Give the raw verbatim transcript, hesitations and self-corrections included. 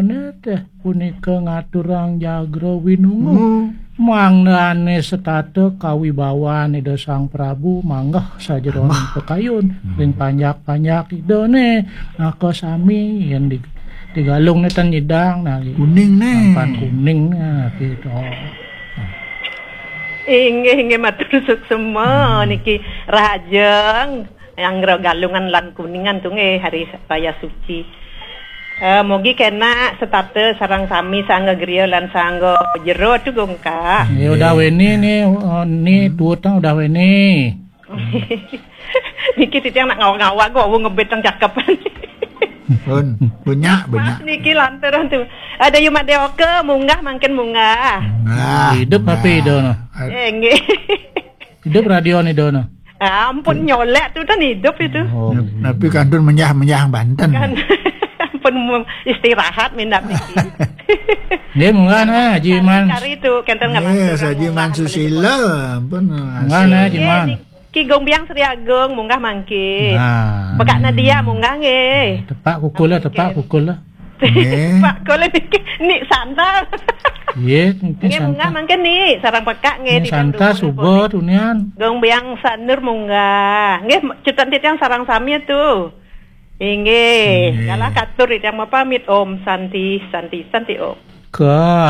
Nete punika ngaturang jagra winungu. Hmm. Mangdane setata kawibawan Ida Sang Prabu manggah sajeroning pakayun. Hmm. Ring panjak-panjak Idane, maka sami yen di, di galung ne ten nyidang, nah, kuning ne. Nampan kuning, nah, gitu. Inggih, inggih, matur suksema. Hmm. Niki rahajeng. Anggra galungan lan kuningan tu nggih hari raya suci. Eh, mugi kena setata sareng sami sangga griya lan sangga jero tu gongka. Ya udah weni ni, oh, ni tuutang udah weni. Niki titiang nak ngawak-ngawak kok, wong ngebet tang cakepan. Pun, banyak, banyak. Mas niki lantaran tu. Ada Yu Madeoka, munggah mangkin munggah. Nah, hidup nah. Tapi Ida no. Eh, nggih. Hidup radio ni Ida no. Ampun nyolek tu kan hidup itu. Oh. Tapi kantun menyah-menyah banten. Kan ampun mu-, istirahat minat niki. Dia munggah nah, Haji Man. Kari tu kenten nggak. Yes, Haji Man Susila. Ampun. Munggah nah, Haji Man. Ki Gong Biang Sri Agung munggah mangke. Nah. Pekak Nadia munggah nggih. Tepak pukul lah, tepak pukul lah. Nggih. Pak kula niki Nik Santa. Nggih, niki nggih, Santa. Munggah mangke Nik, sareng pekak nggih. Nik Santa suba tunian. Gong Biang Sanur munggah. Nggih, cutan titiang sareng sami tu. Inggih, nggih. Kalah katur titiang mapamit. Om Santi, Santi, Santi Om. Ka